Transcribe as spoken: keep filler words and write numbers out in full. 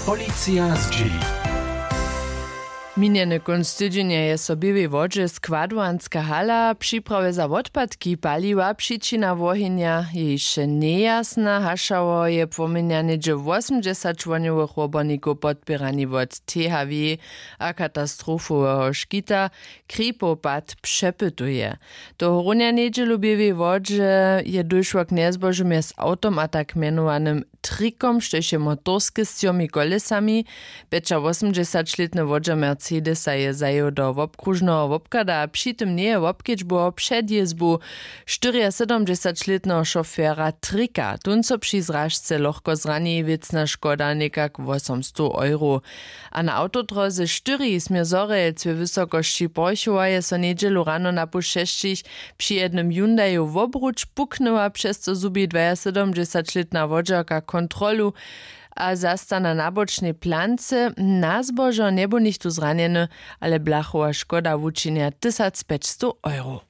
Policija zdźěli. Minjeny kónc tydźenja je so w běłej wodźe składowanska hala připrawje za wotpadki paliła přičina wohenja je hišće njejasna hašało je płomjenja něhdźe wosomdźesat čłonjowych wobornikow podpěrani wot thw a katastrofoweho škita kripow pad přepytuje. Tohorunja njedźelu w běłej wodźe je dóšło k njezbožu mjez awtom a tak mjenowanym trikom štož je motorske z třomi kolesami. Pjećawosomdźesaćlětny wodźer mercedesa je zajěł do wobkróžneho wobchada a při tym njeje wobkedźbował předjězbu štyriasydomdźesaćlětneho šofera trika tón so při zražce lochko zrani wěcna škoda někak wosomstow euro. A na awtodróze štyri směr zhorjelc we wysokosći porchowa je so njedźelu rano na poł šesćich při jednym hyundaju wobruč puknyła přez co zhubi dwajasydomdźesaćlětna wodźerka kontrolu a zasta na nabočnej plance. Na zbožo njebu nichtó zranjeny, ale blachowa škoda wučinja tysacpjećstow euro.